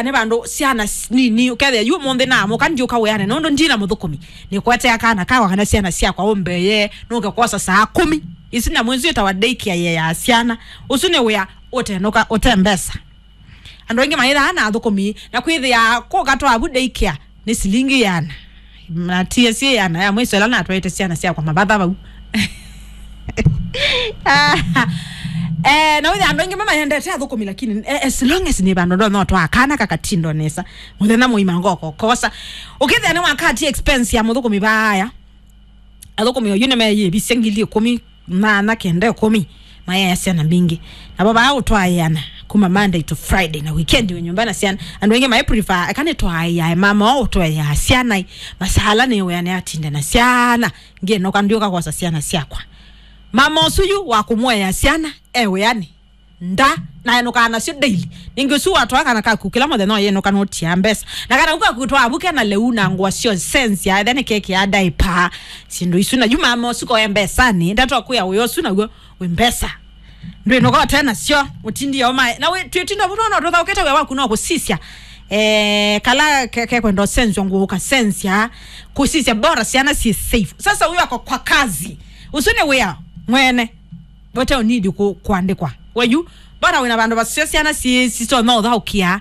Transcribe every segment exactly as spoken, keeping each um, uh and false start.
nĩ vandũ syana s-, nini, ũkethĩa yu ũmũnthĩ naamũka ndiũka wĩanĩ, nũndũ ndina mũthũkũmi. Nĩkwetea kana kakwa kana syana syakwa ũmbeye, nũke kwosa saa kũmi. Isu nyamũ isu ĩtawa daycare ya syana. Ũsu nĩ wĩa ũtenũka, ũte mbesa. Andũ aingĩ maithaa na athũkũmi, na kwĩthĩa kũka twavu daycare nĩ silingi ĩana. Na T S A ĩana ya mwĩso ĩla natwaĩte syana syakwa mavatha vau. Eh, na wĩthĩa andũ aingĩ mamayendete athũkũmi, lakini, eh, as long as nĩ vandũ ndo no twaa kana kakatindo nesa. Mũthenya mũima ngoko kosa. Ũkĩthĩa nĩ wakati expense ya mũthũkũmi vaya. Athũkũmi oyu nĩmeeyĩvisye ngili ĩkũmi, nyanya, kenda, ĩkũmi, mayaĩa syana mbingĩ. Navo vaa ũtwaĩana kuma Monday to Friday na weekend wĩ nyũmba na syana. Andũ aingĩ maĩ prefer, eka nĩtwaĩae mama oo ũtwaĩaa syana i, masala nĩwĩanĩ atinde na syana, ngĩnoka ndiũka kwosa syana syakwa. Mama ũsu yu wa kũmũea syana e wĩanĩ. Nda, na enũkaa nasyo daily. Ningĩ ũsu watwaa kana kaku kĩla mũthenya ũyĩnũka nũtia mbesa. Na kana kaku twaa vu kena lĩu na ngũa syo sensia, ethe nĩ kekĩa diaper. Syĩndũ isu na yu mama ũsu koya mbesanĩ, ndatwa kwĩa wĩa ũsu naw'o wĩ mbesa. Ndwĩnũka ũte nasyo, ũtindie ũmae. Na wĩ, twĩtinda vu no tũthaũkĩte wĩa waku no kũsisya. Eh, kala ke, ke kwenda ũsenswa ngũũ ũkasensya, kũsisya bora syana syĩ safe. Sasa huyo ako kwa kazi. Ũsu nĩ wĩa mwene. Vote you need ku-, kuandĩkwa. Weyu, bora wĩna vandũ vasyo syana si-, sitonya ũthaũkĩa,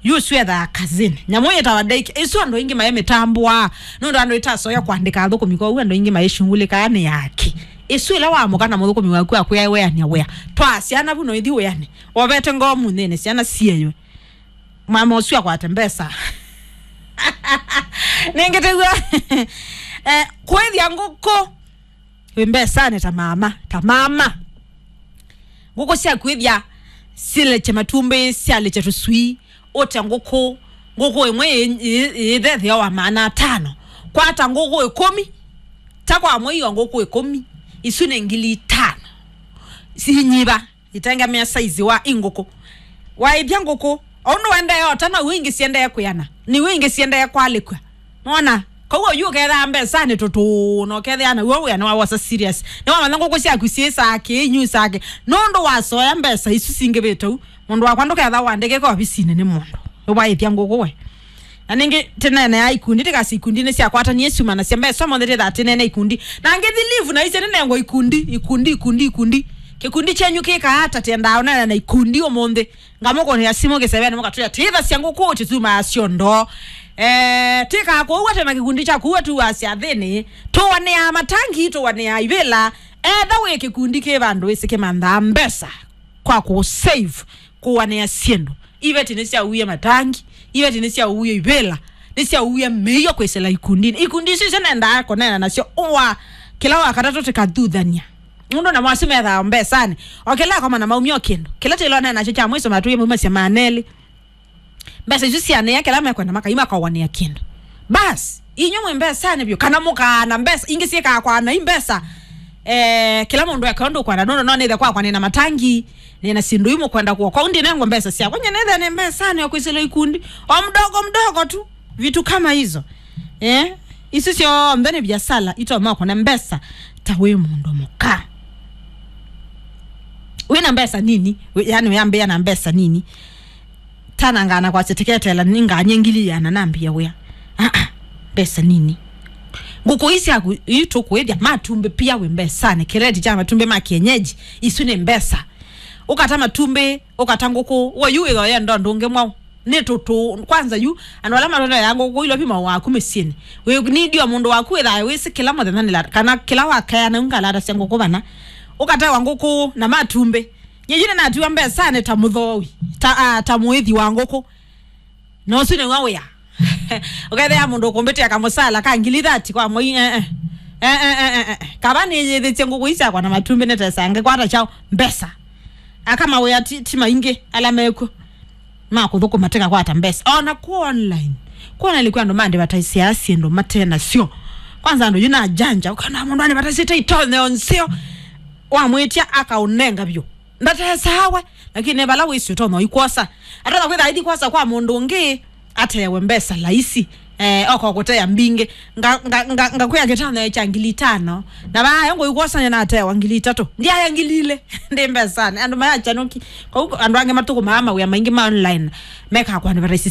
yu swetha kazini. Nyamũ yĩtawa daycare, isu andũ aingĩ maĩ mĩtambũa, nũndũ andũ itasoya kuandĩka athũkũmi, kwoou andũ aingĩ maĩshungulĩkaa nĩ yake. Isu ĩla wamũka na mũthũkũmi waku akwĩa wĩanĩa wĩa. Twaa syana vu noithi wĩanĩ. Wovete ngoo mũnthĩnĩ, syana sieywe. Mama ũsu akwate mbesa. Nĩngĩ tĩw'o. Eh, kwĩthya ngũkũ. Wĩ mbesanĩ ta mama, ta mama. Ngũkũ syaku ĩthya silekye matumbĩ, syalekye tũswii, ũte ngũkũ, ngũkũ ĩmwe ĩ-, ĩ-, ĩthethea wa maana atano. Kwata ngũkũ ĩkũmi, ta kwa mwei wa ngũkũ ĩkũmi, isu nĩ ngili itano. Sinyiva, itengemea saizi wa ingũkũ. Waĩthya ngũkũ, o ũndũ wendee ota, na iu ingĩ siendee kwĩana, na iu ingĩ siendee kwalĩkw'a. Nona? Koguo yu ũkethaa mbesanĩ tũtũũ, na ũkethĩa naw'o wĩa nĩwawosa serious. Nĩwamanya ngũkũ syaku syĩ saa kĩ, inyu saa kĩ. Nũndũ wasoya mbesa isu singĩvĩte u, mũndũ wakwa ndũketha wandĩkĩka ovisinĩ nĩ mũndũ. Nĩwaĩthya ngũkũ we. Na ningĩ tĩneenea ikundi, tĩkasi ikundi nĩsyakwatanie syumanasya mbesa monthe tĩthaa tĩneene ikundi. Na ngĩthi leave na isye nĩnengwa ikundi, ikundi, ikundi, ikundi. Kĩkundi kyenyu kĩkaa ata tĩendaa ũneena na ikundi ũmũnthĩ? Ngamũkũnĩa simũ kĩsevenĩ mũkatwĩa, "Tĩthasya ngũkũ, tĩtumaa syondo." Eh, tĩkaa kũu ate na kĩkundi kya kũu atuaa syathĩnĩ. Tũwanĩaa matangi, tũwanĩaa ivĩla. Etha wĩ kĩkundi kĩ vandũ wĩsĩ kĩmanthaa mbesa kwa kũ save, kũwanĩa syĩndũ. Iveti nĩsyauie matangi, iveti nĩsyauie ivĩla, nĩsyauie mĩio kwĩsĩla ikundinĩ. Ikundi isu isyo nendaa kũneena nasyo ũa kĩla wa katatũ tĩkathuthany'a. Nũndũ namo asu methaa mbesanĩ. O kĩla akoma na maumya o kĩndũ. Kĩla tĩlonea nakyo kya mwĩso matũie maumasya maana elĩ. Mbesa isu syanĩa kĩla mekwenda makai makawanĩa kĩndũ. Bas, inyu mwĩ mbesanĩ vyũ, kana mũkaana mbesa, ingĩ syĩkaa kwana i mbesa. Eh, kĩla mũndũ eka ũndũ ũkwenda, nũndũ no nĩthe kwakwa nĩna matangi, nĩna syĩndũ imwe kwenda kuo. Kwau ndinengwa mbesa syakwa, nye nĩthe nĩ mbesanĩ o kwĩsĩlwa ikundi. O mdogo mdogo tu, vitu kama hizo. Eh, isu syonthe nĩ biasala, itonya kũna mbesa ta wĩ mũndũ mũka. Wĩna mbesa nini, wĩ-, yani wĩambĩa na mbesa nini. Tanangana kwasya tĩketela ninganye ngili ĩana nambie wĩa. Aa, mbesa nini. Ngũkũ ii syaku ii tũkwĩthya matumbĩ pia wĩ mbesanĩ. Kĩreti kya matumbĩ ma kienyeji, isu nĩ mbesa. Ũkata matumbĩ, ũkata ngũkũ, we yu wĩthoya ndondo ũngĩ mwaũ. Nĩ tũtũ, kwanza yu, andũ ala matũteaa ngũkũ ilo pima waku mĩsyĩnĩ. Wĩ, nĩ ndio mũndũ waku wĩthaa wĩsĩ kĩla mũthenya nĩla, kana kĩla wakaya na ngalatasya ngũkũ vana. Ũkatewa ngũkũ na matumbĩ. Nyie yu nĩnatiwa mbesanĩ ta mũthoowi, ta, ah, ta mũĩthi wa ngũkũ. Na ũsu nĩw'o wĩa. Ũkethĩa mũndũ ũkũmbĩtĩa kamũsala ka ngili thati kwa mwei, eh, eh. Eh, eh, eh, eh, eh. Kava nĩyĩthĩtye ngũkũ ii syakwa na matumbĩ nĩtesange kwata kyaũ mbesa. Aka mawĩa ti, ti maingĩ ala mekw'o. Ma kũthũkũma tĩkakwata mbesa. O na ku online. Ku online kwĩ andũ maandĩvataisĩaa syĩndũ mate nasyo. Kwanza andũ yu na janja, ũkona mũndũ andĩvataisĩte itonyeo nzeo. Wamwĩtya akaũnenga vyũ. Ndatesaa we, lakini vala wĩsĩ ũtonya ũikwosa. Atonya kwĩtha aithi kwosa kwa mũndũ ũngĩ, atewe mbesa laisi. Eh, oka kũtea mbingĩ. Nga- nga- nga- ngakwĩa kĩtano kya ngili itano, na vaa ngũikwosanya natewa ngili itatũ, ndiaya ngili ilĩ. Ndi mbesanĩ, andũ mayakyanũki. Kwou andũ angĩ matũkũmaa mawĩa maingĩ ma online, mekaa kũandĩvataisi